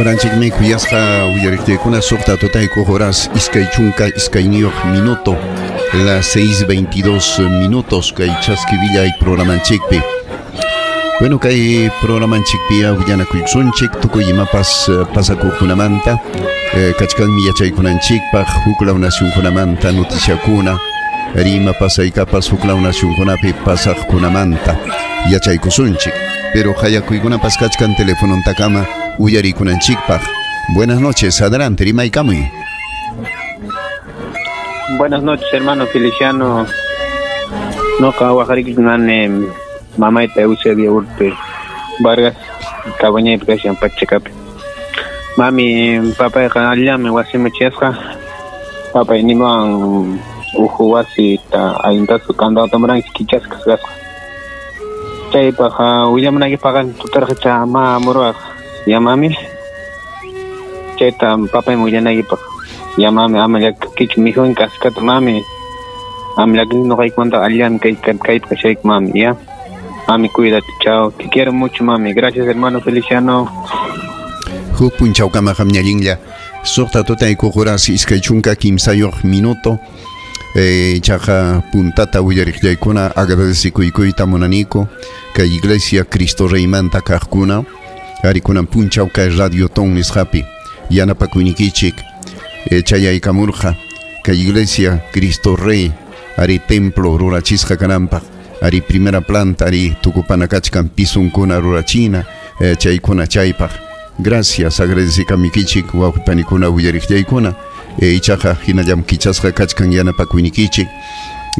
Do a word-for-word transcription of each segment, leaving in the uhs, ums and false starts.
Oranchikmi kuyasqa uyariqtiykuna suqta tutaykuq horas iskay chunka iskayniyuq minuto, las seis veintidós minutos kay chaskivillay programanchikpi. Bueno, kay programanchikpi willanakuysunchik tukuy imapas pasakuqkunamanta, eh, kachkanmi yachaykunanchikpaq huklaw nacionkunamanta noticiakuna, rima pasaykapas huklaw nacionkunapi pasaqkunamanta yachaykusunchik. Pero hayakuykunapas kachkan telefonontakama uyarikunanchikpaq. Buenas noches, adelante, rimaykamuy. Buenas noches, hermano Feliciano. Noqa waqarikikunani mamayta Eusebia Urte Vargas, Cabañaypi kashan Pachakapi. Mami, papayqa allami wasiman chayasqa. Papay niman uhu wasita ayintasu kandado tamuranki kichasqa kasqa. Chaypaq willamunaykipaqqa tutarqa ma muruwaq yamami. Chayta papayman willanaykipaq yamami ama llakikichu mikhunki kaskata mami. Ama llakikichu ñuqaykumanta allami kay kaypi kashayku mami, ya. Mami, cuídate, chao. Te quiero mucho, mami. Gracias, hermano Feliciano. Huk punchawkama qamñallinlla. Suqta tutaykuq horas iskay chunka kimsayuq minuto. Eh, chaqa puntata willariqllaykuna agradecikuykuyta munaniku kay Iglesia Cristo Reymanta kaqkuna arikunan punchaw kay Radio Ton nisqapi yanapakuynikichik eh, chayaykamurqa kay Iglesia Cristo Rey ari templo rurachisqa kananpaq ari primera planta ari tukupana kachkan pisunkuna rurachina eh, chaykuna chaypaq. Gracias, agradecikamikichik wawqipanikuna willariqllaykuna. Eh, ichaqa hinallam kichasqa kachkan yanapakuynikichik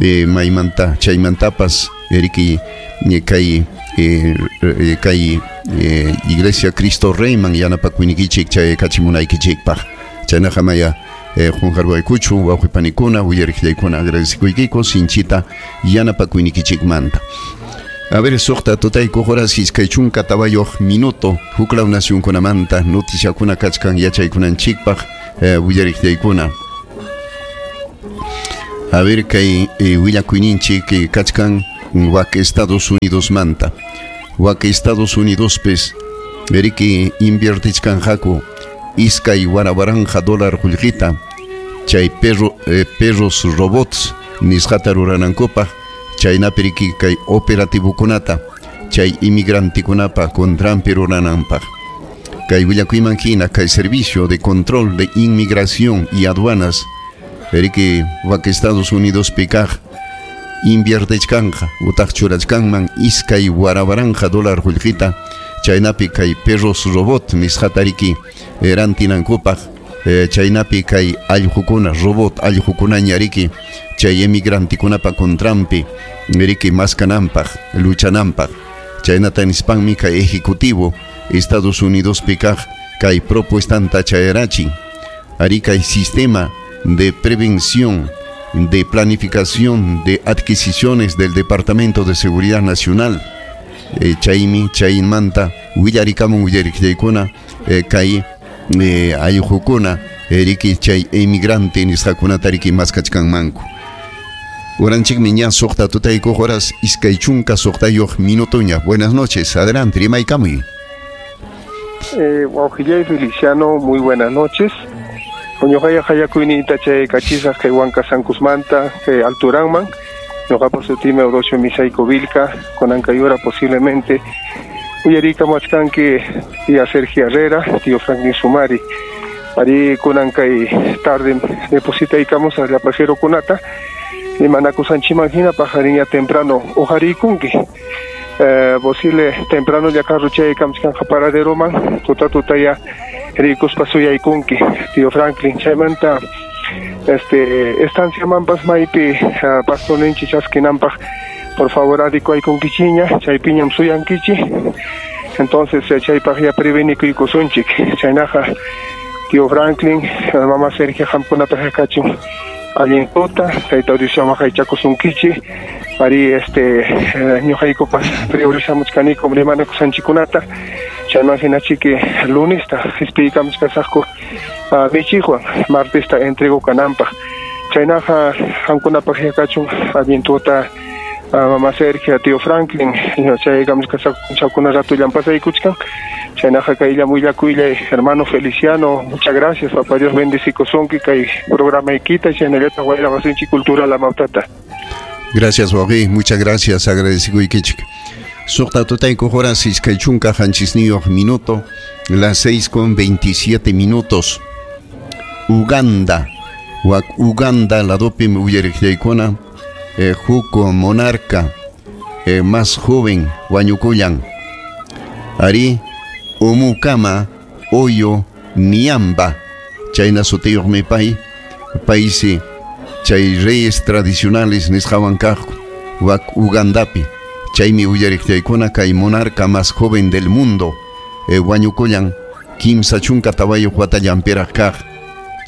eh, maymanta chaymantapas eriki eh, kay eh, eh, kay eh, Iglesia Cristo Reyman yanapakuynikichik chay kachimunaykichikpaq. Chaynaqa maya eh, qunqarwaykuchu wawqipanikuna willariqllaykuna agradecikuykiku sinchita yanapakuynikichikmanta. A ver, suqta tutaykuq horas iskay chunka tawayuq minuto huklaw nacionkunamanta noticiakuna kachkan yachaykunanchikpaq eh, willariqllaykuna. A ver, kay eh, willakuyninchik eh, kachkan wak Estados Unidos manta. Wak Estados Unidos pes eriki inviertichkanqaku iskay warawaranja dólar qullqita chay perro, eh, perros robots nisqata ruranankupaq chaynapi riki kay operativokunata chay inmigrantikunapa contranpi rurananpaq. Kay willakuyman hina kay servicio de control de inmigración y aduanas eriki wak Estados Unidos pikaq inviertechkanja utaq churachkanman iskay warawaranja dólar qullqita chaynapi kay perros robot nisqata riki rantinankupaq eh, chaynapi kay allqukuna robot allqukunaña riki chay emigrantikunapa contranpi riki maskananpaq luchananpaq. Chaynata nispanmi kay ejecutivo Estados Unidos pikaq kay propuestanta chayarachin ari kay sistema de prevención de planificación de adquisiciones del Departamento de Seguridad Nacional eh, chaymi chaymanta willarikamun willariqllaykuna eh, kay eh, allqukuna riki chay emigrante nisqakunata riki maskachkanmanku. Oranchikmi ña suqta tutaykuq horas iskay chunka suqtayuq minutoña. Buenas noches, adelante, rimaykamuy. Eh, wawqillay Feliciano, muy buenas noches. Ñuqaya hayakuyniyta chay kachisaq kay Huanca Sankusmanta, kay Alturanman. Ñuqapa sutimi Eudosio Misayko Vilca, kunankayura posiblemente uyarikamuachkanki tía Sergio Herrera, tío Franklin Sumari. Ari kunankay tarde depositaykamus llapajero kunata, imanakusanchiman hina pajariña temprano uqarikunki. Eh, posible temprano ya carro chaykamchkanqa paraderoman, tuta tutaya rikuspa suyaykunki, tío Franklin. Chaymanta este estanciamanpas maypi uh, pastorninchik chaskinanpaq por favor adikuaykunkichiña, chaypiñam suyankichi. Entonces eh, chaypaq ya prevenikuykusunchik. Chaynaqa tío Franklin, mamá Sergio qamkunapaq kachun allin tuta, tayta Dios waqaychakusunkichi. Ari este ñuqaykupas priorizamuchkaniku rimanakusanchikunata. Chayman hinachiki lunesta qispiykamuchkasaqku michiqwan martesta entrego kananpaq. Chaynaqa qamkunapaq kachun allin tuta Mamá Sergio, tío Franklin, chay chakuna ratullan pasaykuchkan. Chaynaqa kaylla willakuylla hermano Feliciano, muchas gracias, papá Dios bendecikusonki kay programaykita chaynallataq wayra cultura la mautata. Gracias, wawqi, muchas gracias, agradecikuykichik. Suqta tutayku horas iskay chunka qanchisniyuq minuto, las seis con veintisiete minutos. Uganda, wak Uganda ladopim uyariqllaykuna, eh, huk monarca eh, más joven wañukullan. Ari Omukama Oyo Niamba, chayna sutiyuqmi pay, paysi chay reyes tradicionales nisqawan kaq wak Ugandapi. Chaymi uyariqllaykuna kay monarca más joven del mundo eh, wañukullan kimsa chunka tawayuq watallanpiraq kaq.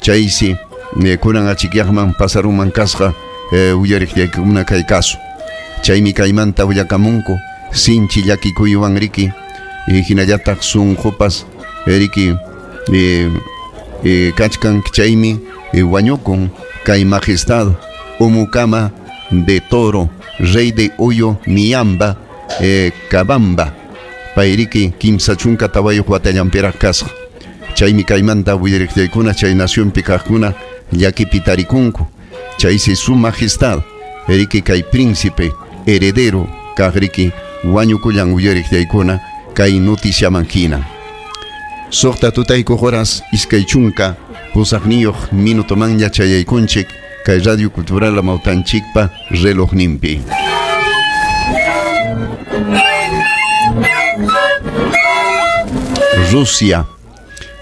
Chaysi eh, kunan achikyaqman pasaruman kasqa eh, uyariqllaykuna kay caso. Chaymi kaymanta willakamunku sinchi llakikuywan riki eh, hinallataq sunqupas riki eh, eh, kachkan chaymi eh, wañukun kay majestad Omukama de Toro, rey de Oyo Niamba eh, Kabamba, payriki kimsa chunka tawayuq watallanpiraq kasqa. Chaymi kaymanta willariqllaykuna chay nacionpi kaqkuna llakipi tarikunku. Chaysi su majestad riki kay príncipe heredero kaq riki wañukullan uyariqllaykuna kay noticiaman hina. Suqta tutayku horas iskay chunka pusaqniyuq minutomanña chayaykunchik kay Radio Cultural Amautanchikpa relojninpi. Rusia,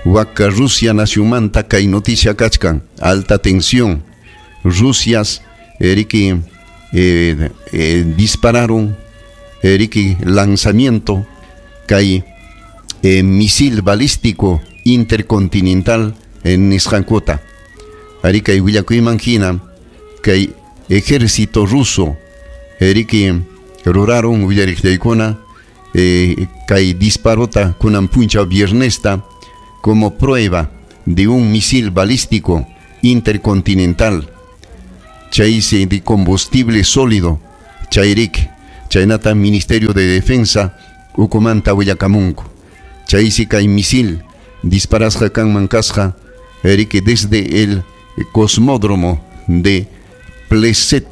waka Rusia nacionmanta kay noticia kachkan, alta tensión. Rusias eriki eh, eh, dispararon eriki lanzamiento kay eh, misil balístico intercontinental en nisqankuta. Ari kay willakuyman hina kay ejército ruso eriki ruraron willariqllaykuna eh, kay disparota kunan puncha viernesta como prueba de un misil balístico intercontinental chaysi de combustible sólido chayrik chaynata Ministerio de Defensa ukumanta willakamunku. Chaysi kay misil disparasqa kanman kasqa eriki desde el cosmódromo de Pleset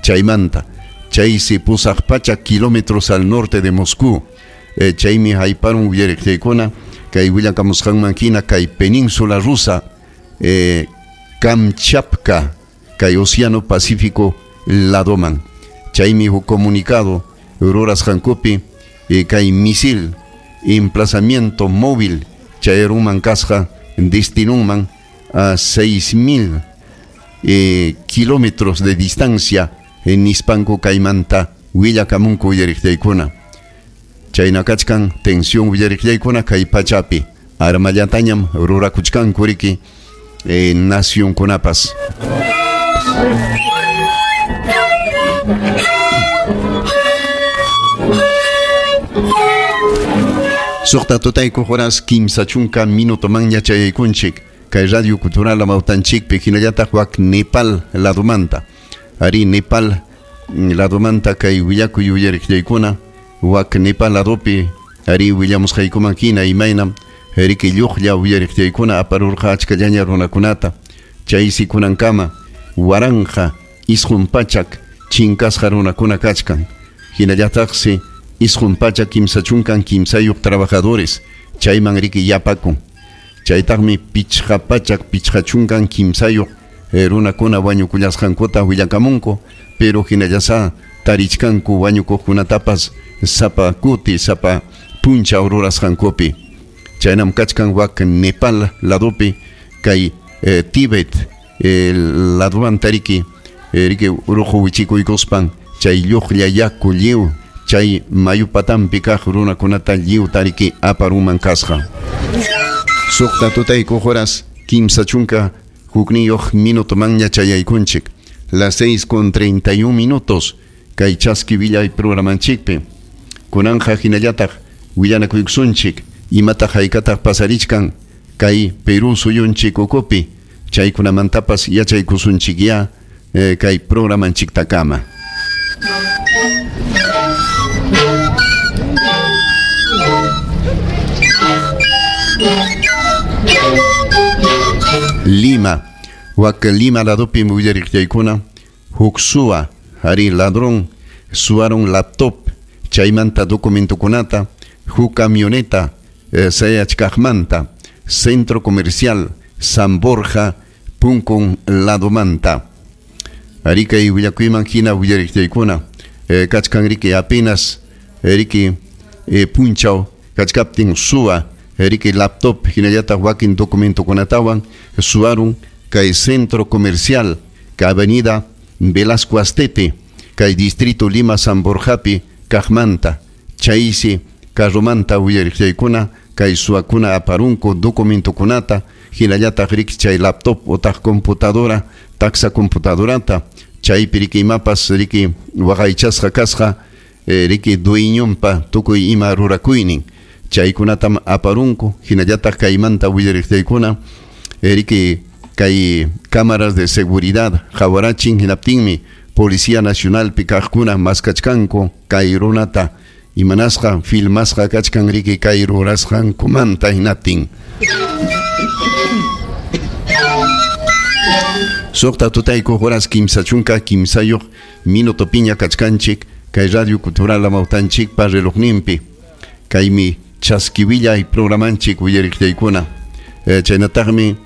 chaymanta chaysi pusaq pachak kilómetros al norte de Moscú. Eh, chaymi hayparun willariqllaykuna kay willakamusqanman hina kay península rusa eh, Kamchatka kay Océano Pacífico ladoman. Chaymi huk comunicado rurasqankupi eh, kay misil emplazamiento móvil chayarunman kasqa destinunman a seis mil eh, kilómetros de distancia en nispanku kaymanta willakamunku willariqllaykuna. Chayna kachkan tensión willariqllaykuna kay pachapi armallatañam rurakuchkanku riki eh, nacionkunapas. Suqta tutayku horas kimsa chunka minutomanña chayaykunchik kay Radio Cultural Amautanchikpi hinallataq wak Nepal ladumanta. Ari Nepal ladumanta kay willakuy uyariqllaykuna wak Nepal ladupi ari willamusqaykuman hina imaynam riki lluqlla uyariqllaykuna aparurqa achkallaña runakunata. Chaysi kunankama waranqa isqun pachak chinkasqa runakuna kachkan. Hinallataqsi isqun pachak kimsa chunkan kimsayuq trabajadores chayman riki yapakun. Chaytaqmi pichqa pachak pichqa chunkan kimsayuq eh, runakuna wañukullasqankuta willakamunku, pero hinallasa tarichkanku wañukuqkunatapas sapa kuti sapa punchaw rurasqankupi. Chaynam kachkan wak Nepal ladupi kay eh, Tíbet eh, ladumanta riki eh, riki uruqu wichikuykuspan chay lluqlla yaku lliw chay mayu patampi kaq runakunata lliw tariki aparuman kasqa. Suqta tutayku horas kimsa chunka hukniyuq minutomanña chayaykunchik, las seis con treinta y un minutos kay chaski willay programanchikpi. Kunanja hinallataq willanakuykusunchik imataq haykataq pasarichkan kay Perú suyunchik ukupi chaykunamantapas yachaykusunchik ya eh, kay programanchiktakama. Lima, wak Lima ladopi willariqllaykuna huk suwa ari ladrón suwaron laptop chaymanta documentokunata huk camioneta eh, sayachkaqmanta centro comercial San Borja punkun ladomanta. Ari kay willakuyman hina willariqllaykuna eh, kachkan riki apenas riki eh, punchaw kachkaptin suwa riki laptop hinallataq wakin documentokunatawan suwarun kay centro comercial ka avenida Velasco Astete kay distrito Lima San Borjapi kaqmanta chaysi carromanta willariqllaykuna kay suwakuna aparunku documentokunata hinallataq riki chay laptop otaq computadora taxa computadorata chaypi riki imapas riki waqaychasqa kasqa eh, riki dueñonpa tukuy ima rurakuynin chaykunatam aparunku hinallataq kaymanta willariqllaykuna riki kay cámaras de seguridad qawarachin hinaptinmi Policía Nacional kaqkuna maskachkanku kay runata imanasqa filmasqa kachkan riki kay rurasqankumanta hinaptin. Suqta tutayku horas kimsa chunka kimsayuq minuto piña kachkanchik kay Radio Cultural Amawtanchikpa relojninpi kaymi chaskiwillay programanchik willariqllaykuna eh, chaynataqmi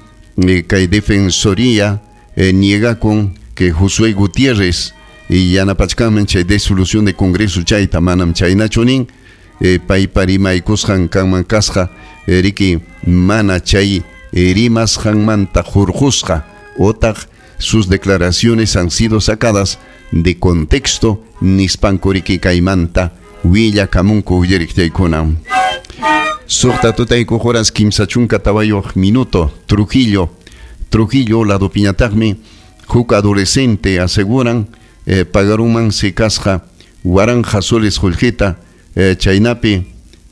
eh, kay Defensoría eh, niega con que Josué Gutiérrez y yanapachkanman chay desolución de Congreso chayta manam chaynachu nin eh, paypa rimaykusqan kanman kasqa eh, riki mana chay eh, rimasqanmanta hurqusqa otaq sus declaraciones han sido sacadas de contexto nispanku riki kaymanta willakamunku willariqllaykuna. Suqta tutayku horas kimsa chunka tawayuq minuto Trujillo Trujillo ladopiñataqmi huk adolescente aseguran eh, pagaruman si kasqa waranja soles qullqita eh, chaynapi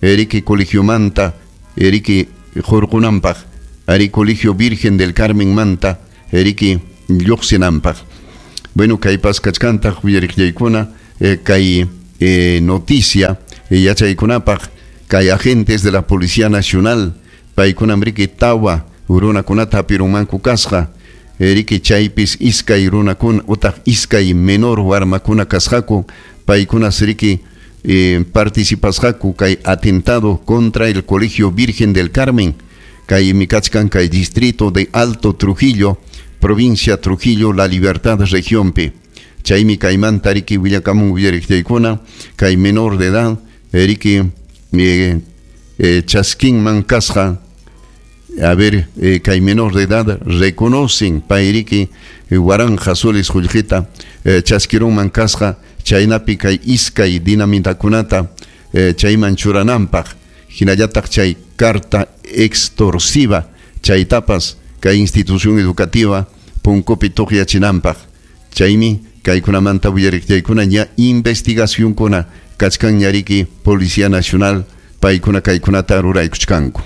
riki colegiomanta riki hurqunanpaq ari Colegio Virgen del Carmen manta riki lluqsinanpaq. Bueno, kaypas kachkantaq willariqllaykuna eh, kay eh, noticia eh, yachaykunapaq kay agentes de la Policía Nacional paykunam riki tawa runakunata hapirunmanku kasqa riki chaypis iskay runakuna utaq iskay menor warmakuna kasqaku paykunas riki eh, participasqaku kay atentado contra el Colegio Virgen del Carmen kaymi kachkan kay distrito de Alto Trujillo provincia Trujillo La Libertad regionpi chaymi kaymanta riki willakamun willariqllaykuna kay menor de edad riki eh, eh, chaskinman kasqa a ver eh, kay menor de edad reconocen payriki eh, waranja soles qullqita eh, chaskirunman kasqa chaynapi kay iskay dinamitakunata eh, chayman churananpaq hinallataq chay carta extorsiva chaytapas kay institución educativa punkupi tuqyachinanpaq chaymi kaykunamanta willariqllaykuna ña investigacionkuna kachkan ña riki Policía Nacional paykuna kaykunata ruraykuchkanku.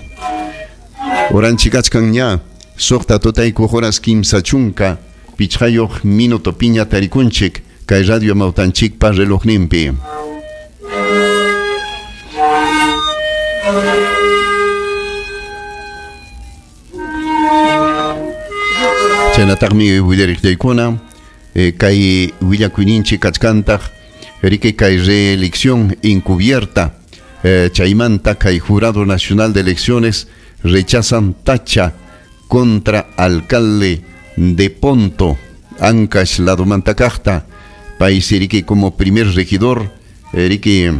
Oranchik kachkan ña suqta tutayku horas kimsa chunka pichqayuq minuto piña tarikunchik kay Radio Amawtanchikpa relojninpi. Chaynataqmi willariqllaykuna eh, kay willakuyninchik kachkantaq riki kay reelección encubierta eh, chaymanta kay Jurado Nacional de Elecciones rechazan tacha contra alcalde de Ponto Ancash ladomanta kaqta paysi riki como primer regidor riki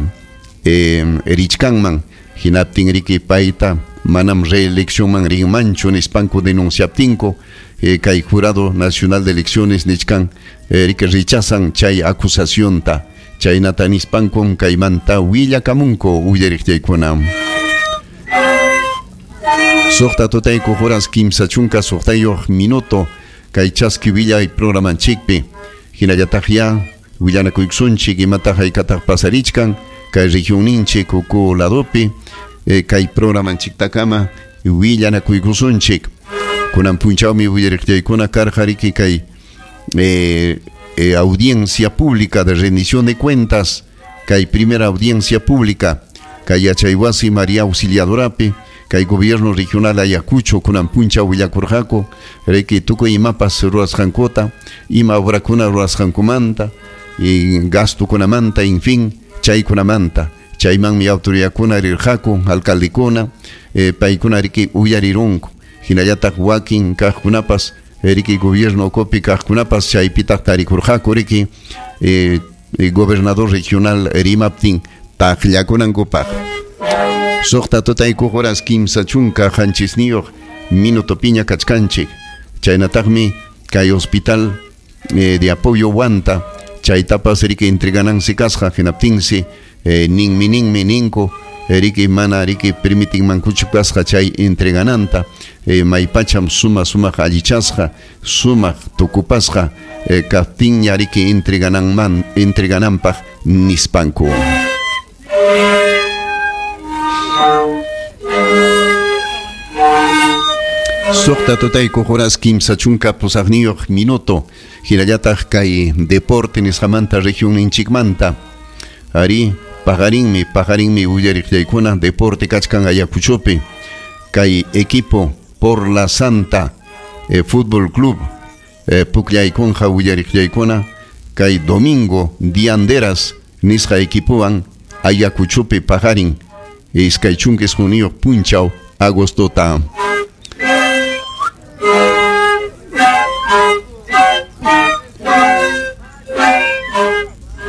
eh, richkanman hinaptin riki payta manam reeleccionman rinmanchu nispanku denunciaptinku eh, kay Jurado Nacional de Elecciones nichkan eh, riki rechazan chay acusacionta chaynata nispankun kaymanta willakamunku willariqllaykuna. Suqta tutayku horas kimsa chunka suqtayuq minuto kay chaski willay programanchikpi hinallataq ya willanakuykusunchik imataq haykataq pasarichkan kay regionninchik uku ladopi eh, kay programanchiktakama willanakuykusunchik kunan punchawmi willariqllaykuna karqa riki kay eh, eh, audiencia pública de rendición de cuentas, kay primera audiencia pública, kay yachaywasi María Auxiliadorapi, kay gobierno regional Ayacucho kunan puncha willakurqaku, riki tukuy imapas ruwasqankuta, ima obrakuna ruwasqankumanta, y gastukunamanta, en fin, chaykunamanta. Chaymanmi autoridadkuna rirqaku, alcaldekuna, eh, paykuna riki uyarirunku. Hinallataq wakin kaqkunapas, riki gobierno ukupi kaqkunapas chaypitaq tarikurqaku riki eh, gobernador regional rimaptin taqllakunankupaq. Suqta tutaykuq horas kimsa chunka qanchisniyuq minuto piña kachkanchik. Chaynataqmi kay hospital eh, de apoyo Huanta chaytapas riki entreganansi kasqa hinaptinsi eh, ninmi ninmi ninku riki mana riki permitinmankuchu kasqa chay entregananta eh, maypacham suma sumaq allichasqa sumaq tukupasqa eh, kaptinña riki entregananman entregananpaq nispanku. Suqta tutaykuq horas kimsa chunka pusaqniyuq minuto hinallataq kay deporte nisqamanta región ninchikmanta ari paqarinmi paqarinmi uyariqllaykuna deporte kachkan Ayacuchopi kay equipo por la Santa eh, Fútbol Club eh, pukllaykunqa uyariqllaykuna kay domingo Dianderas nisqa equipowan Ayacuchopi paqarin iskay chunka isquniyuq punchaw agostota.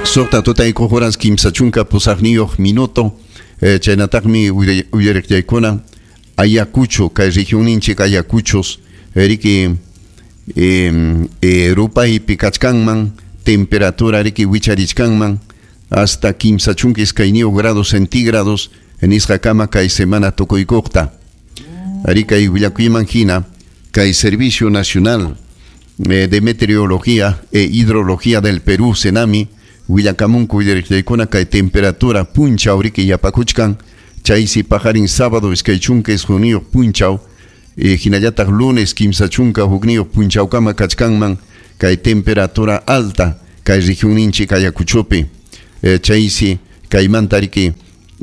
Suqta tutaykuq horas kimsa chunka pusaqniyuq minuto eh, chaynataqmi uyariqllaykuna Ayacucho kay regionninchik Ayacuchos riki eh, eh, rupaypi kachkanman temperatura riki wicharichkanman hasta kimsa chunka iskayniyuq grados centígrados nisqakama kay semana tukuykuqta. Ari kay willakuyman hina kay Servicio Nacional eh, de Meteorología e Hidrología del Perú, SENAMI, willakamunku uyariqllaykuna kay temperatura punchaw riki yapakuchkan chaysi paqarin sábado iskay chunka isquniyuq punchaw eh, hinallataq lunes kimsa chunka hukniyuq punchawkama kachkanman kay temperatura alta kay regionninchik Ayacuchopi eh, chaysi kaymanta riki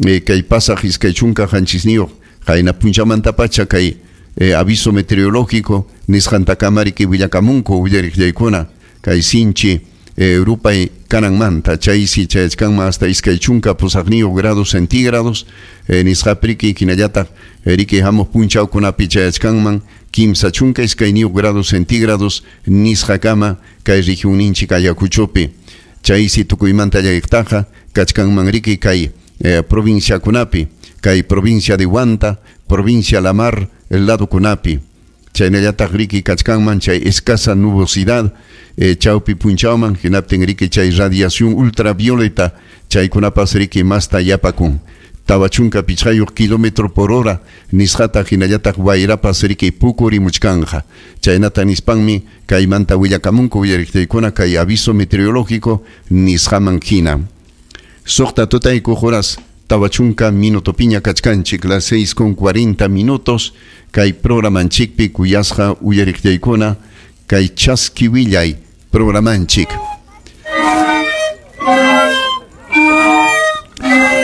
eh, kay pasaq iskay chunka qanchisniyuq qayna punchamantapacha kay eh, aviso meteorológico nisqantakama riki willakamunku uyariqllaykuna kay sinchi eh, rupay kananmanta chaysi chayachkanman hasta iskay chunka pusaqniyuq grados centígrados eh, nisqapriki hinallataq riki hamuq punchawkunapi chayachkanman kimsa chunka iskayniyuq grados centígrados nisqakama kay regionninchik Ayacuchopi chaysi tukuymanta llakiqtaqa kachkanman riki kay eh, provinciakunapi kay provincia de Huanta, provincia La Mar ladokunapi chaynallataq riki kachkanman chay escasa nubosidad eh, chawpi punchawman hinaptin riki chay radiación ultravioleta chaykunapas riki masta yapakun tawa chunka pichqayuq kilómetro por hora nisqata hinallataq wayrapas riki pukurimuchkanja chaynata nispanmi kaymanta willakamunku uyariqtaykuna kay aviso meteorológico nisqaman hina. Suqta tutaykuq horas tawa chunka minuto piña kachkanchik las seis con cuarenta minutos kay programanchikpi kuyasqa uyariqtaykuna kay chaski willay programanchik.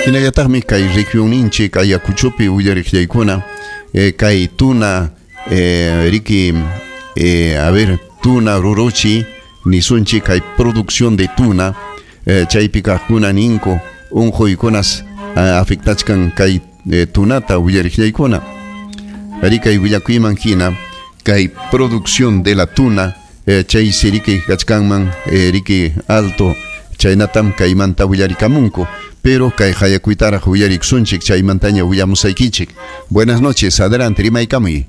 Hinallataqmi kay regionninchik Ayacuchopi uyariqllaykuna eh, kay tuna eh, riki eh, a ver tuna ruruchi nisunchik kay producción de tuna eh, chaypi kaqkuna ninku unquykunas eh, afectachkan kay eh, tunata uyariqllaykuna. Ari kay willakuyman hina kay producción de la tuna eh, chaysi riki kachkanman eh, riki alto chaynatam kaymanta willarikamunku pero kay hayakuytaraq willariksunchik chaymantaña willamusaykichik. Buenas noches, adelante rimaykamuy.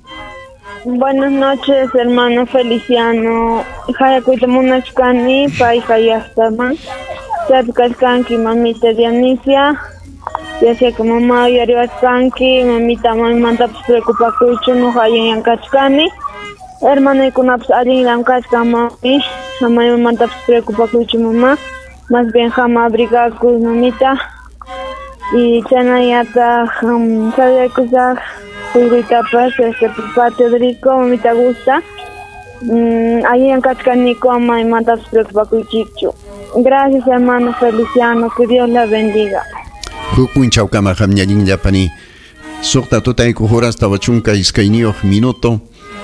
Buenas noches, hermano Feliciano. Hayakuyta munachkani pay hayaqtaman chaypi kachkanki mamita Dionisia. Ya sea que mamá uyariwachkanki mamita maymantapas preocupakuychu nuqa allinllam kachkani. Hermanoykunapas allinllam kachkan mami, maymantapas preocupakuychu mamá. Más bien jama abrigakuy mamita. Y chaynallataq saludaykusaq Uyguytapas, este papá Teodorico, mamita gusta. Mm, allin kachkaniku ama imantapas preocupakuychikchu. Gracias, hermano Feliciano, que Dios la bendiga. Huk punchawkama qamñallinllapani suqta tutayku horas tawa chunka iskayniyuq minuto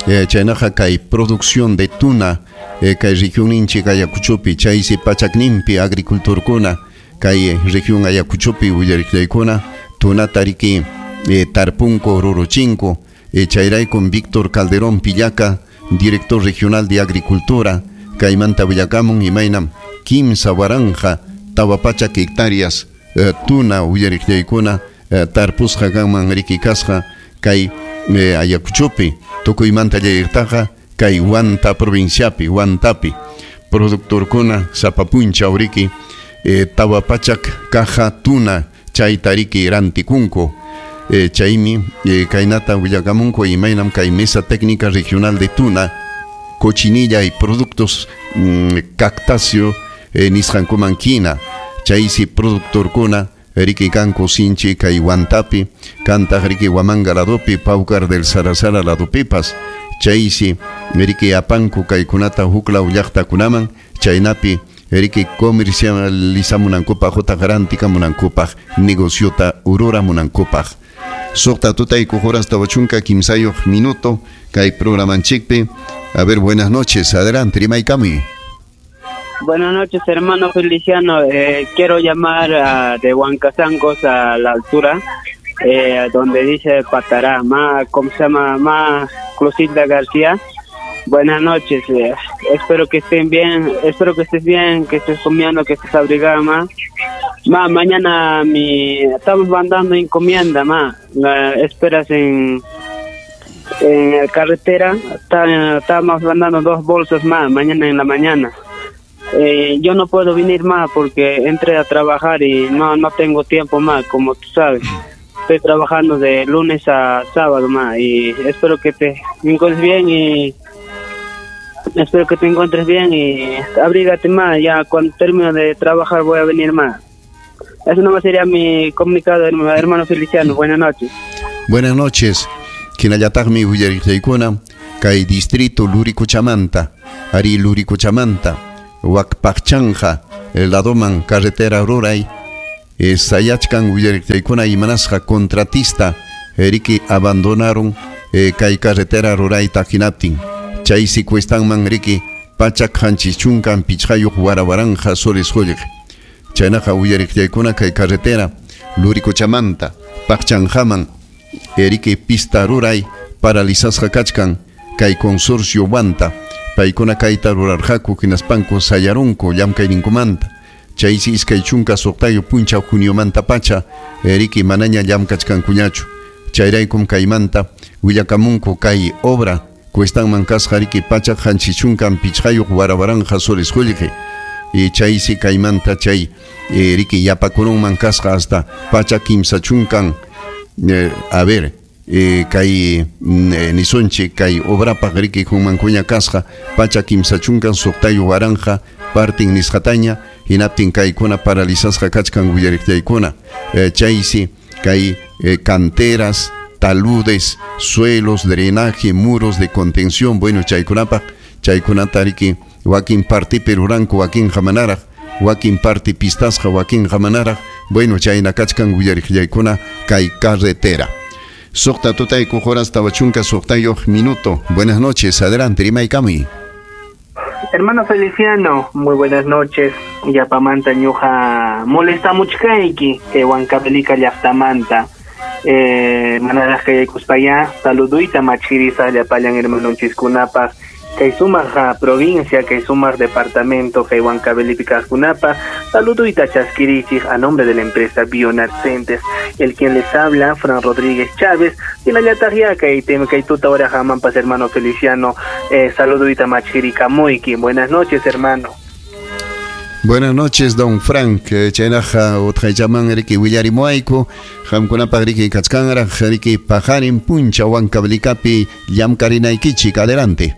eh, chaynaqa kay producción de tuna eh, kay regionninchik Ayacuchopi chaysi pachakninpi agricultorkuna kay región Ayacuchopi willariqllaykuna tunata riki eh, tarpunku ruruchinku eh, chayraykum Víctor Calderón Pillaca, director regional de Agricultura, kaymanta willakamun imaynam kimsa waranqa tawa pachak hectáreas eh, tuna willariqllaykuna eh, tarpusqa kanman riki kasqa kay eh, Ayacuchopi tukuymanta llayqtaqa kay Huanta provinciapi Huantapi productorkuna sapa punchaw riki eh, tawa pachak caja tuna chayta riki rantikunku eh, chaymi eh, kaynata willakamunku imaynam kay mesa técnica regional de tuna cochinilla y productos mm, cactáceo eh, nisqankuman hina chaysi productorkuna riki kanku sinchi kay Huantapi kantaq riki Huamanga ladopi Paucar del Sarasara ladopipas chaysi riki apanku kaykunata huklaw llaqtakunaman chaynapi riki comercializamunankupaq utaq rantikamunankupaq negociota ruramunankupaq. Suqta tutayku horas tawa chunka kimsayuq minuto kay programanchikpi. A ver, buenas noches, adelante, rimaykamuy. Buenas noches, hermano Feliciano. Eh, quiero llamar a, de Huancasancos a la altura, eh, donde dice Patará, ma, ¿cómo se llama? Ma Closilda García. Buenas noches, eh, espero que estén bien, espero que estés bien, que estés comiendo, que estés abrigada, ma. Ma, mañana mi, estamos mandando encomienda, ma. La esperas en, en la carretera, está, estamos mandando dos bolsas más, mañana en la mañana. Eh, yo no puedo venir más porque entré a trabajar y no, no tengo tiempo más, como tú sabes. Estoy trabajando de lunes a sábado más y espero que te encuentres bien y espero que te encuentres bien y abrígate más. Ya cuando termine de trabajar voy a venir más. Eso nomás sería mi comunicado, hermano Feliciano. Buenas noches. Buenas noches. Hinallataqmi willariqllaykuna kay distrito Luricuchamanta, ari Luricuchamanta, Huacpaqchanja, ladoman carretera ruray, eh, sayachkan willariqllaykuna imanasqa contratista riki abandonaron eh, kay carretera rurayta hinaptin. Chaysi cuestanman riki pachak qanchis chunkan pichqayuq warawaranja soles qullqi. Chaynaqa willariqllaykuna kay carretera Luricuchamanta Paqchanjaman eriki pista ruray paralizasqa kachkan kay consorcio Huanta paykuna kayta rurarqaku hinaspanku sayarunku llamkayninkumanta. Chaysi iskay chunka suqtayuq punchaw juniomanta pacha riki manaña llamkachkankuñachu. Chayraykum kaymanta willakamunku kay obra cuestanman kasqa riki pachak qanchis chunkan pichqayuq warawaranja soles qullqi. Y chaysi kaymanta chay eh, riki yapakurunman kasqa hasta pachak kimsa chunkan eh, a ver eh, kay eh, nisunchik kay obrapaq riki hunmankuña kasqa pachak kimsa chunkan suqtayuq waranja partin nisqataña hinaptin kaykuna paralizasqa kachkan willariqllaykuna eh, chaysi kay eh, canteras, taludes, suelos, drenaje, muros de contención, bueno chaykunapaq chaykunata riki wakin partipi ruranku wakin hamanaraq wakin parti pistasqa wakin hamanaraq bueno chayna kachkan willariqllaykuna kay carretera. Suqta tutayku horas tawa chunka suqtayuq minuto. Buenas noches, adelante, rimaykamuy. Hermano Feliciano, muy buenas noches. Yapamanta ñuqa molestamuchkayki kay Huancavelica llaqtamanta. Eh, manaraq kayaykuspaya saluduyta machirisa llapallan hermanonchiskunapaq kay sumaq provincia, kay sumaq departamento, kay Huancavelica kaqkunapaq saluduyta chaskirichik a nombre de la empresa Bionat Center. El quien les habla, Fran Rodríguez Chávez, y la yataqya kay tem kay tuta hora hamampas hermano Feliciano, eh, saluduyta machirikamuiki. Buenas noches, hermano. Buenas noches, don Frank. Chaynaqa utqaychaman riki willarimuayku qamkunapaq riki kachkanraq riki paqarin puncha Huancavelicapi llamkarinaykichik. Adelante.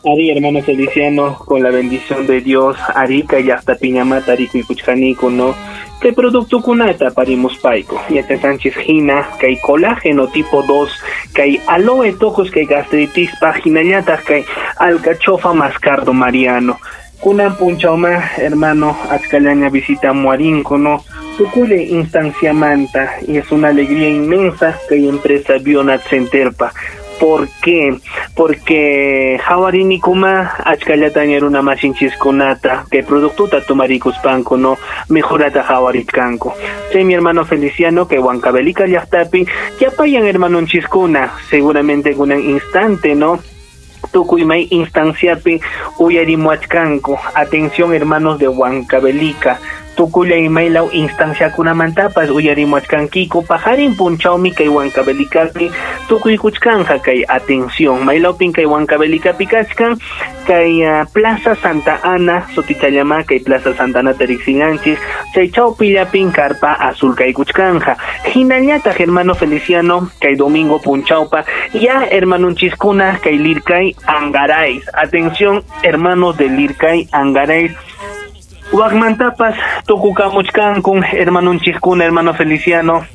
Ari, hermano Feliciano, con la bendición de Dios, Arica y hasta Piñamata, Arico y Cuchjanico, ¿no? ¿Qué producto kunata parimos paico? Yata Sánchez Gina, que hay colágeno tipo dos, que hay aloe tocos, que hay gastritis, página que hay alcachofa mascardo mariano. Kunan punchauma, hermano, achkalaña visita muarinco, ¿no? Tukule instancia manta, y es una alegría inmensa que hay empresa Bionat Centerpa. ¿Por qué? Porque hawarinikuma achkallataña runa masinchishkunata que productuta tumarikuspanku, no mejorata hawaritkanku. Che, mi hermano Feliciano, que Huancavelica llaqtapi yapayan hermanonchiskuna, seguramente en un instante, ¿no? Tukuy may instanciapi uyarimuachkanku. Atención, hermanos de Huancavelica. Tukulla y maylaw instanciakunamantapas uyarimuachkankiko pajarin punchawmi kay Huancavelicapi tukuykuchkanja kay atención maylawpin kay Huancavelicapi kachkan kay uh, Plaza Santa Ana sutichallama kay Plaza Santa Ana tariksinanchis chay chawpillapin carpa azul kaykuchkanja hinallataq hermano Feliciano kay domingo punchawpa ya hermanunchiskuna kay Lircay Angarais. Atención, hermanos de Lircay Angarais. Waqmantapas tukukamuchkankun hermanunchiskuna, hermano Feliciano,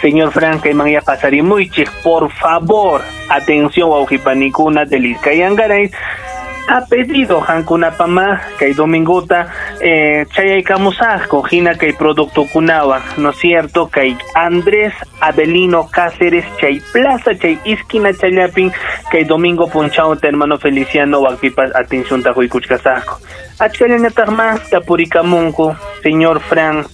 señor Franca y Manya pasarimuichik, por favor, atención wawqipanikuna de Lircay Angarais. Ha pedido hankunapama kay domingota eh, chayaykamusaqku hina kay productokunawan, ¿no es cierto? Kay Andrés Avelino Cáceres chay plaza chay esquina chayapin kay domingo punchawta hermano Feliciano waqpipas atención taquykuchkasaqku. Achkallañataqma tapurikamunku señor Fran.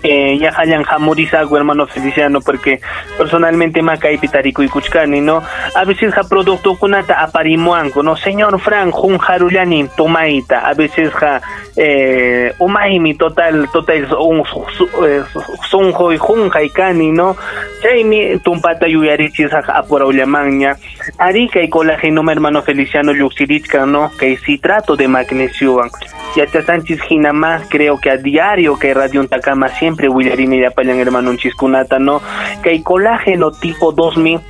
Eh, ya hayan jamurizago hermano Feliciano, porque personalmente makaypi tarikuykuchkani, ¿no? A veces ja producto kunata aparimuanku, ¿no? Señor Fran, jun jarullani tomaita, a veces ja eh, umaymi total, total un sunjoy junjaykani, ¿no? Chaymi tumpata yuyarichis apurawllamanña. Ari kay colágeno hermano Feliciano lluqsirichkan, ¿no? Kay citrato de magnesiowan. Yachasanchis hinama, creo que a diario que Radio Untakama siempre willarini yapayan hermanunchiskunata, ¿no? Kay colágeno tipo dos mil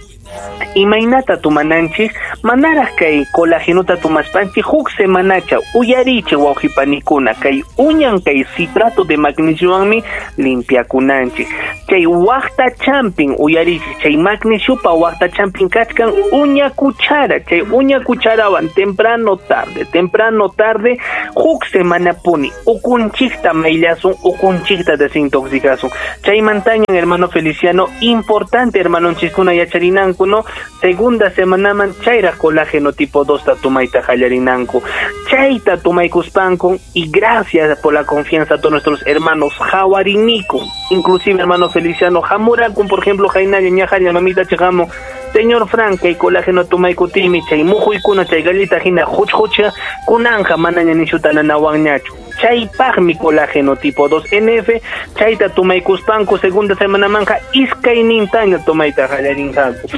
imaynata tumananchik manaraq kay colágenota tumaspanchik huk semanacha uyarichik wawqipanikuna kay uñan kay citrato de magnesiowanmi limpiakunanchik chay waqta champin uyarichik chay magnesiopa waqta champin kachkan uña cuchara chay uña cucharawan temprano tarde temprano tarde huk semanapuni ukunchikta mayllasun ukunchikta desintoxicasun chaymantañan hermano Feliciano importante hermanonchiskuna yacharinanku, ¿no? Segunda semanaman chayra colágeno tipo dos tatumayta hallarinanku chayta tumaykuspanku y gracias por la confianza a todos nuestros hermanos jawariniku inclusive hermano Feliciano jamurakun por ejemplo jainalla ñajalla mamita chijamo señor Frank kay colágeno tumaykutimi chay mujuykuna chay gallita hina huchhucha kunanja manaña nishuta nanawanñachu chaypaqmi colágeno tipo dos N F chayta tumaykuspanku segunda semana manja iskaynintaña tumayta hallarinqaku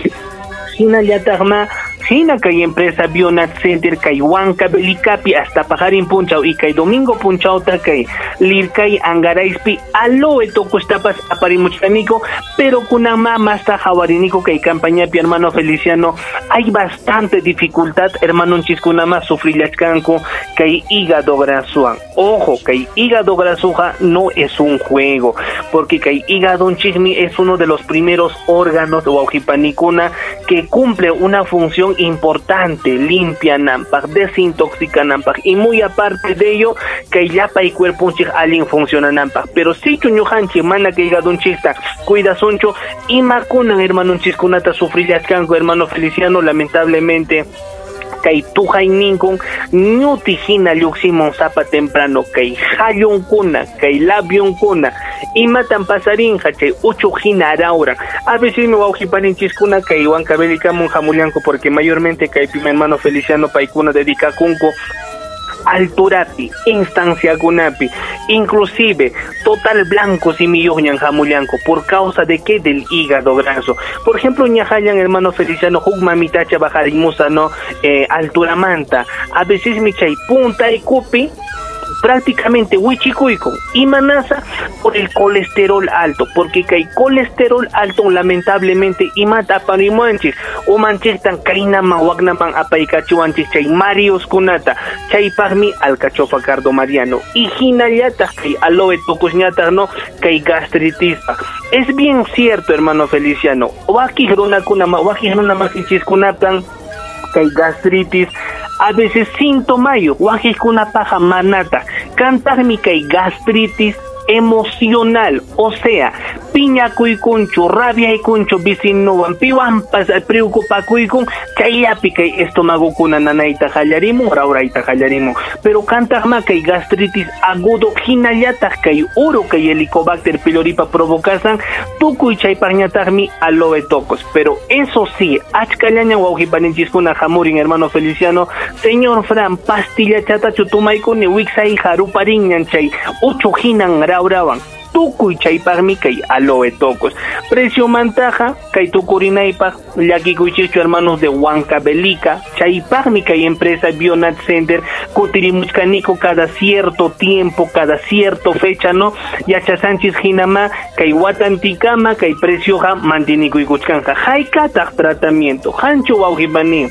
hinallataqma hina kay empresa Bionat Center kay Huancavelicapi hasta pajarin punchaw y kay domingo punchawta kay Lircay Angaraispi aloe tokustapas aparimuchkaniko pero kunama masta jawariniko kay campañapi hermano Feliciano hay bastante dificultad hermanonchiskunama sufrillachkanku kay hígado grasuan. Ojo, kay hígado grasuja no es un juego porque kay hígado chismi es uno de los primeros órganos wawqipanikuna que cumple una función importante, limpia nampaq, desintoxica nampaq y muy aparte de ello que llapa y cuerpo unchik alin funciona nampaq, pero si chuñujanchik mana que hígado unchikta cuidasunchu imakunan hermanonchiskunata sufrillachkanku hermano Feliciano lamentablemente kay tujayninkun ñuti hina lluqsimun sapa temprano kay hallunkuna kay labionkuna imatan pasarinqa chay uchuq hina arawran a veces mi wawqipaninchiskuna kay Huancavelicamun hamullanku porque mayormente kaypi mi hermano Feliciano paykuna dedicakunku alturapi, instanciakunapi, inclusive total blanco simiyuqñan hamullanku por causa de qué del hígado graso. Por ejemplo, ñajallan hermano Feliciano huk mamitacha bajarimusa no eh, alturamanta, a veces mi chay punta y kupi Prácticamente wichikuykun. Imanasa por el colesterol alto, porque kay colesterol alto lamentablemente imata aparimuanchik, umanchiktan kaynaman waknaman apaykachiwanchik chay marioskunata, chaypaqmi alcachofa cardo mariano y hinallataq kay aloe tukusñataq no kay gastritispa. Es bien cierto, hermano Feliciano, wakiq runakuna wakiq runa masinchiskunatan kay gastritis a veces sintomayo, wakiqkunapaqa manata, kantaqmi kay gastritis emocional, o sea, piñakuykunchu, rabiaykunchu vecinuwan, piwanpas preocupakuykun, chayllapi kay estomagokuna nanayta qallarimun, rawrayta qallarimun. Pero kantaqma kay gastritis agudo hinallataq kay uro kay Helicobacter pyloripa provocasan, tukuy chaypaqñataqmi aloe tocos. Pero eso sí, achkallaña wawqipaninchiskuna hamurin, hermano Feliciano, señor Fran, pastilla chatachu tumaykuni wiksayqa ruparinñan chay uchu hinan rawrawan. Tukuy chaypaqmi kay aloe tocos. Precio mantaja kay tukurinaypaq llakikuychikchu hermanos de Huancavelica, chaypaqmi kay empresa Bionat Center kutirimuchkaniko cada cierto tiempo, cada cierto fecha, no yachasanchis hinama kay watantikama kay precioja mantinikuykuchkanja. Haykataq tratamiento hanchu wawqipani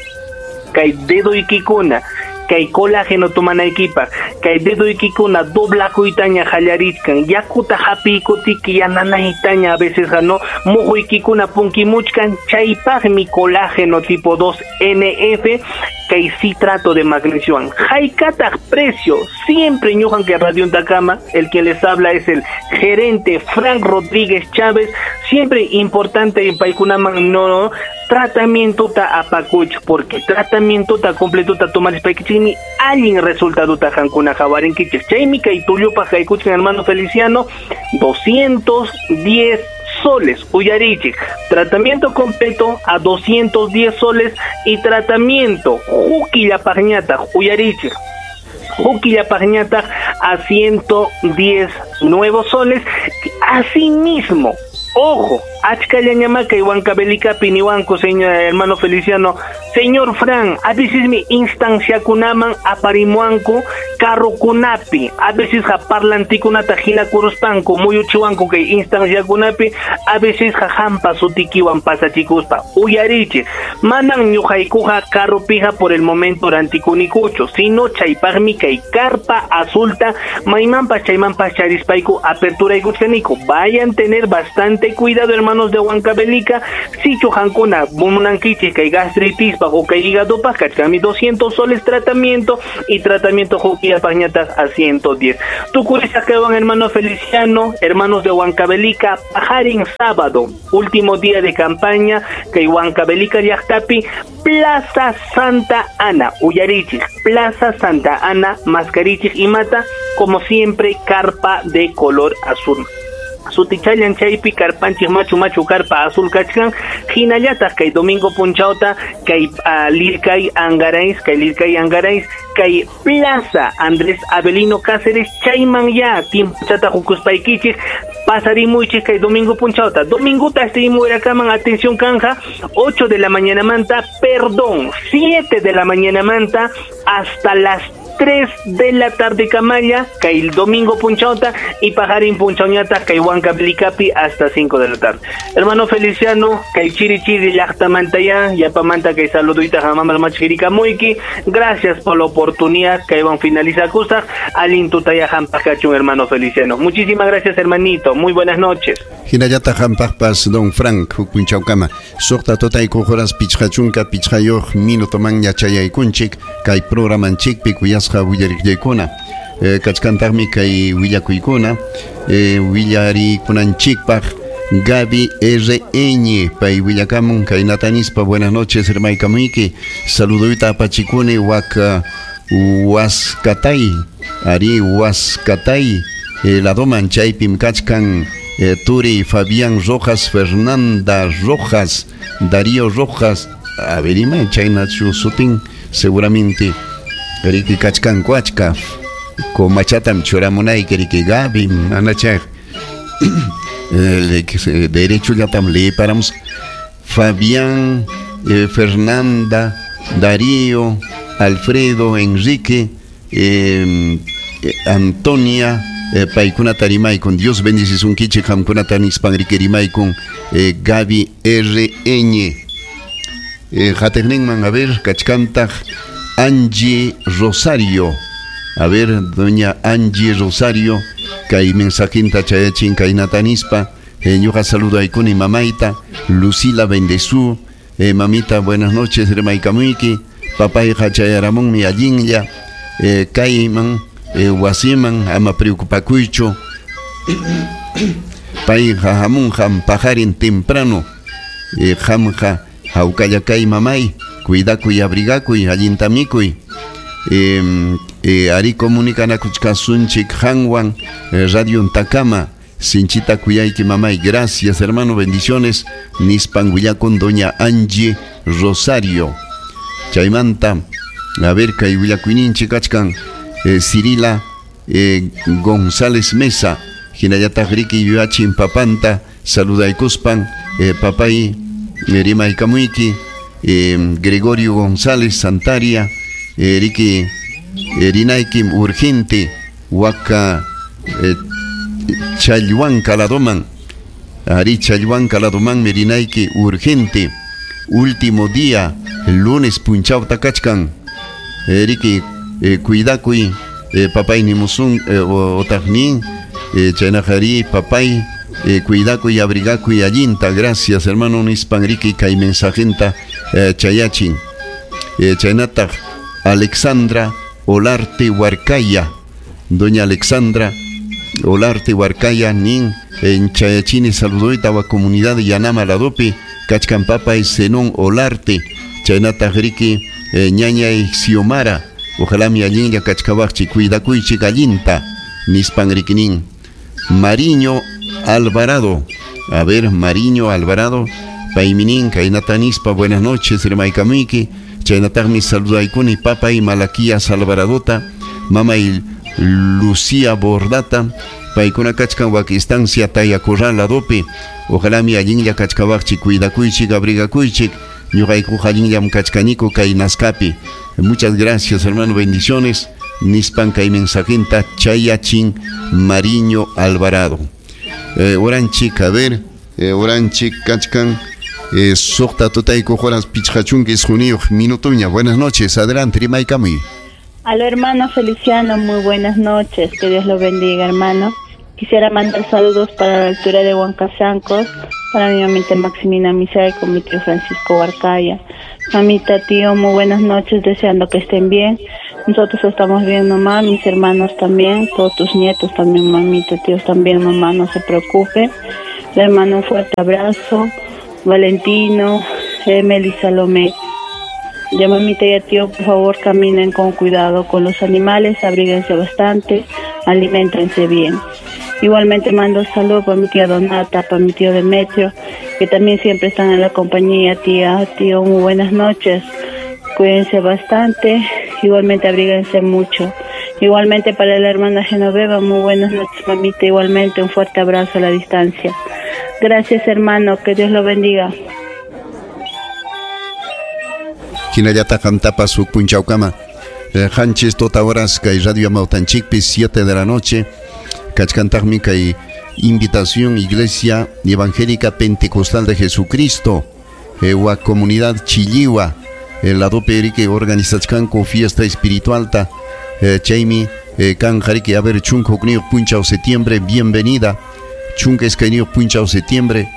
kay dedoykikuna kay colágeno tomanaykipaq, kay dedoykikuna doblakuytaña qallarichkan, yakuta hapiykutiki yananaytaña a veces no mujuykikuna punkimuchkan, chaypaqmi colágeno tipo dos N F kay citrato de magnesio. Haykataq precio, siempre ñujan que Radio Untacama, el que les habla es el gerente Frank Rodríguez Chávez, siempre importante en paykunaman no, no tratamiento ta apakuch, porque tratamiento ta completo ta tomar paykichikmi allin resultado ta hankuna hawarinkichik. Chaymi kay tullupaq haykuchkan hermano Feliciano, doscientos diez soles, uyarichik, tratamiento completo a doscientos diez soles y tratamiento juquillapaqñataq uyarichik, juquillapaqñataq a ciento diez nuevos soles. Asimismo, ojo, achkallañamaka y Huancavelica piniwanco, señor hermano Feliciano, señor Fran, a veces mi instancia kunaman aparimuanco, carro kunapi, a veces ja parlantikunata hina kuruspanco, muyuchiwanco que instancia kunapi, a veces ja hampa sutikiwan pasachikuspa, uyarichi, manan ñuqaykuja carro pija por el momento rantikunikucho, sino chaypaqmi kay carpa azulta, maymanpas chaymanpas charispayku apertura ikuchkaniku. Vayan tener bastante cuidado, hermanos de Huancavelica, sichu hankuna munankichik kay gastritis o kay hígado kachkami doscientos soles tratamiento y tratamiento juquillapaqñataq a ciento diez. Tukurisaqewan hermano Feliciano, hermanos de Huancavelica, pajarin sábado, último día de campaña kay Huancavelica llaqtapi, Plaza Santa Ana, uyarichik, Plaza Santa Ana, mascarichik y mata, como siempre, carpa de color azul. Sutichallan chaypi karpanchik machu machu karpa azul kachkan, hinallataq kay domingo punchawta kay uh, lirkay angarais, kay lirkay angarais, kay Plaza Andrés Avelino Cáceres, chayman ya tiempochata hukuspaykichik pasarimuychik kay domingo punchawta. Dominguta estimuerakaman, atención canja, ocho de la mañana manta, perdón, siete de la mañana manta hasta las tres de la tarde camaya, kay el domingo punchauta y pajarín punchauñata, kay Huancavelicapi hasta cinco de la tarde. Hermano Feliciano, kay chiri chiri llaqtamantaya, yapamanta kay saluduita jamamar machirikamuiki, gracias por la oportunidad, kay van finaliza kusaq, alintutaya hampaqkachun hermano Feliciano. Muchísimas gracias hermanito, muy buenas noches. Hinallata hampaqpas don Frank huk punchawkama, suqta tutayku horas pichqachunka pichqayuq minutoman yachayaykunchik kay programanchikpi kuyasqa willariqllaykuna. Eh, kachkantaqmi kay willakuykuna, eh, willarikunanchikpaq Gaby R N pay willakamun kay natanispa, buenas noches hermaykamuyki, saluduyta apachikuni wak Huascatay, ari Huascatay, eh, ladoman chaypim kachkan eh, Turi Fabián Rojas, Fernanda Rojas, Darío Rojas, a ver, ima chaynachu sutin, seguramente riki kachkan kuachka, comachatam churamunayki riki Gaby, anachaq, eh, derecho llatam leeparamos, Fabián, eh, Fernanda, Darío, Alfredo, Enrique, eh, Antonia eh, paykunata rimaykun. Dios bendicisunkichik qamkunata nispan riki rimaykun eh, Gaby R N. Eh, qatiqninman, a ver, kachkantaq Angie Rosario. A ver, doña Angie Rosario, kay mensajinta chayachin kaynata nispa, eh, ñuqa saludaykuni mamayta, Lucila Bendezú, eh, mamita, buenas noches, rimaykamuyki, papayqa chayaramunmi allinlla, eh, kayman, eh, wasiman, ama preocupakuychu, payqa hamunqam paqarin temprano, eh, qamqa hawkalla kay mamay, cuidakuy, abrigakuy, allinta mikuy, eh, eh, ari comunicanakuchkasunchik qanwan, eh, Radio Ntakama, sinchita kuyayki mamay, gracias hermano, bendiciones, nispan willakun doña Angie Rosario. Chaymanta, a ver, kay willakuyninchik kachkan, eh, Cirila eh, González Mesa, hinallataq riki yuyachin papanta, saludaykuspan, eh, papay eh, rimaykamuyki, eh, Gregorio González Santaria, eh, riki eh, rinaykim urgente, waka eh, Chalhuanca ladoman, ari Chalhuanca ladoman mirinayki urgente, último día, lunes punchawta kachkan, eh, riki eh, cuidakuy, eh, papay nimusun eh, otaqnin, eh, chaynaqari papay, eh, cuidakuy, abrigakuy allinta, gracias hermano nispan riki kay mensajenta eh, chayachin. Eh, chaynataq Alexandra Olarte Huarcaya, doña Alexandra Olarte Huarcaya nin en chayachini saludoyta wa comunidad Yanama ladopi kachkan papay Zenón Olarte, chaynataq riki eh, ñañay Xiomara, ojalá mi allinlla kachkawaqchi cuidakuychik allinta nispan riki nin. Mariño Alvarado, a ver, Mariño Alvarado, payminin kaynata nispa, buenas noches rimaykamuyki, chaynataqmi saludaykuni papay Malaquías Alvaradota, mamay Lucía Bordata, paykuna kachkan wak estancia Tayacurral ladopi, ojalá mi allinlla kachkawaqchik, cuidakuychik, abrigakuychik, ñuqaykuqa allinllam kachkaniku kay Nazcapi. Muchas gracias hermano, bendiciones, nispan kay mensajinta chayachin Mariño Alvarado. Eh, oranchik, a ver, eh, oranchik kachkan, eh, suqta tutayku horas pichqachunka isquniyuq minutuña. Buenas noches, adelante, rimaykamuy. Aló, hermano Feliciano, muy buenas noches, que Dios lo bendiga, hermano. Quisiera mandar saludos para la altura de Huancasancos, para mi mamita Maximina Misael con mi tío Francisco Huarcaya. Mamita, tío, muy buenas noches, deseando que estén bien. Nosotros estamos bien, mamá, mis hermanos también, todos tus nietos también, mamita, tíos también, mamá, no se preocupe. Le mando un fuerte abrazo, Valentino, Emily, Salomé. Ya, mamita y tío, por favor, caminen con cuidado con los animales, abríguense bastante, aliméntense bien. Igualmente mando saludos para mi tía Donata, para mi tío Demetrio, que también siempre están en la compañía. Tía, tío, muy buenas noches. Cuídense bastante, igualmente abríguense mucho. Igualmente para la hermana Genoveva, muy buenas noches, mamita. Igualmente un fuerte abrazo a la distancia. Gracias, hermano, que Dios lo bendiga. Hinallata qamtapas huk punchawkama, qanchis tota horas kay Radio Amawtanchikpi, siete de la noche, kachkantaqmi kay invitación Iglesia Evangélica Pentecostal de Jesucristo, eh, wa comunidad Chilliwa, el ladopi riki organizachkanku fiesta espiritualta, eh, chaymi eh, kanqa riki, a ver, chunka hukniyuq punchaw septiembre, bienvenida, chunka iskayniyuq punchaw septiembre,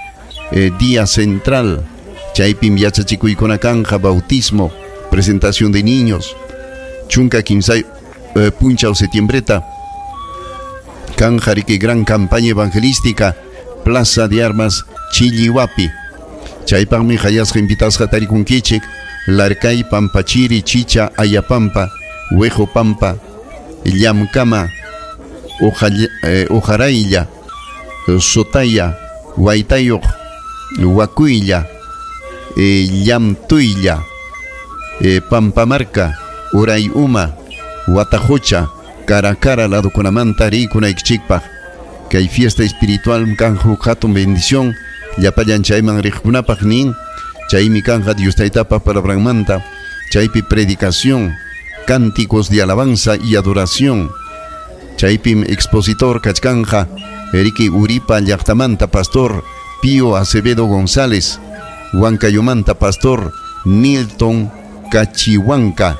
eh, día central, chaypim yachachikuykuna kanja, bautismo, presentación de niños, chunka kimsay eh, punchaw septiembreta, kanja riki gran campaña evangelística, Plaza de Armas, Chilliwapi, chaypaqmi hayasqa invitasqa tarikunkichik, Larcay, Pampachiri, Chicha, Ayapampa, Huejo Pampa, Llamkama, eh, Ojaraylla, Sotaya, Huaytayuq, Huacuylla, eh, Llamtuylla, eh, Pampamarca, Urayuma, Huatajocha, Caracara, ladokunamanta rikunaykichikpaq. Kay fiesta espiritual kanja huk hatun bendición, llapallan chayman riqkunapaq nin, chaymi kanja Dios taytapa palabranmanta, chaypi predicación, cánticos de alabanza y adoración, Chaypim expositor kachkanja Eriki Uripa llaqtamanta pastor Pío Acevedo González, Huancayomanta pastor Nilton Cachihuanca,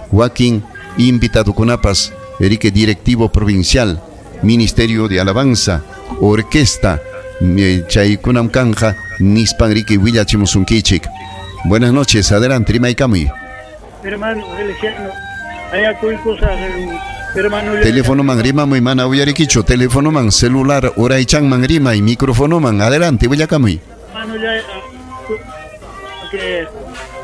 Joaquín invitadokunapas Erike directivo provincial, Ministerio de Alabanza, Orquesta, chaykunam kanja nispan riki willachimusunkichik. Buenas noches, adelante, rimaykamuy. Hermano Feliciano, hermano. Teléfono man rimamuy mana uyarikichu, teléfono man celular uraychanman rimay, micrófono man, adelante, willakamuy. Hermano ya que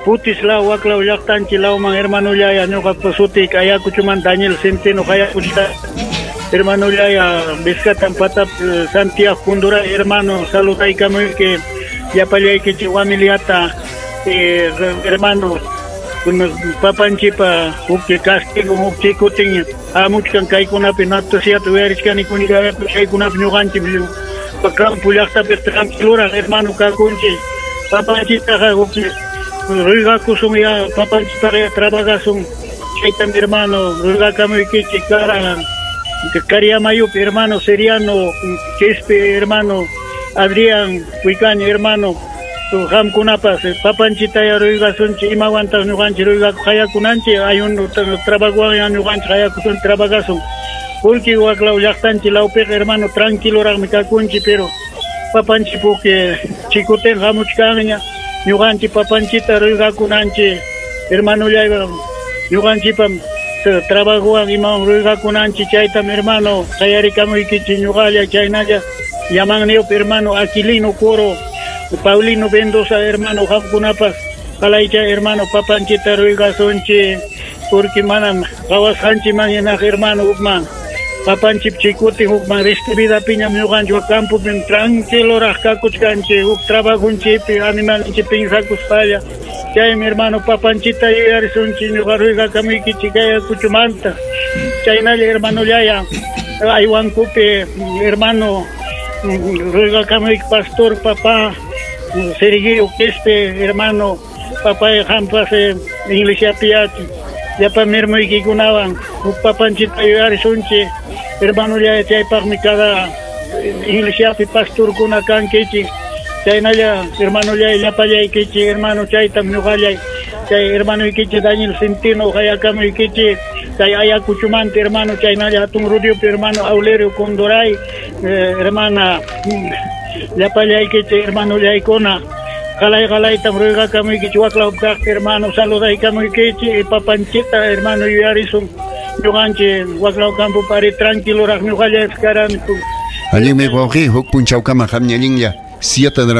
Putis law waklaw llaqtanchik lawman hermano ya ñuqapa sutik Ayacuchoman Daniel Centeno Ayacuchita hermano ya Vizcatan Patap Santiago Kundura hermano saludaykamuy que llapallaykichik familiata eh, hermano papanchipa huk castigo huk chikutin hamuchkan kaykunapi noticiata uyarichkani kunikapi chaykunapi ñuqanchik campo llaqtapi tranquiluraq hermano kakunchik papanchitaqa huk ruegakusun ya papanchitaqa trabajasun chaytam hermano ruegakamuykichik kara Cariamayupi hermano Seriano Quispe hermano Adrián Huicaño hermano qamkunapas papanchita ya ruegasunchik imawantaq ñuqanchik ruegaku hayakunanchik ayun trabajowan ñuqanchik hayakusun trabajasun porque waklaw llaqtanchik lawpiqa hermano tranquiloraqmi kakunchik pero papanchik puki chikutin hamuchkanña ñuqanchik papanchita ruegakunanchik hermanollaywan ñuqanchikpam trabajowan imawan ruegakunanchik chaytam hermano qayarikamuykichik ñuqalla chaynalla llamanniyopi hermano Aquilino Coro Paulino Mendoza hermano qamkunapas qalaycha hermano papanchita ruegasunchik porque manam qawasqanchikman hinaq hermano hukman papanchik chikutin hukman restividapiñam ñuqanchik campopim tranquiloraq kakuchkanchik huk trabajonchikpi animalninchik pinsakuspalla chaymi hermano papanchita yuyarisunchik ñuqa ruegakamuykichik Ayacuchomanta chaynalla hermanollaya aywankupi hermano ruegakamuyki pastor papá Sergio Quispe hermano papá qampas iglesiapi llapa mirmuykikunawan huk papanchita yuyarisunchik hermanollaya chaypaqmi cada iglesiapi pastorkuna kankichik chaynalla hermanollay llapallaykichik hermano chaytam ñuqallay chay hermanoykichik Daniel Centeno hayakamuykichik chay Ayacuchomanta hermano chaynalla hatun Rudiopi hermano Aulerio Condoray eh, hermana llapallaykichik hermanollaykuna qalay qalaytam ruegakamuykichik waklaw kaqpi hermano saludaykamuykichik papanchita hermano yuyarisun ñuqanchik waklaw campopari tranquiloraq ñuqallaypas karani. Allinmi wawqi huk punchawkama qamñallinlla siete de la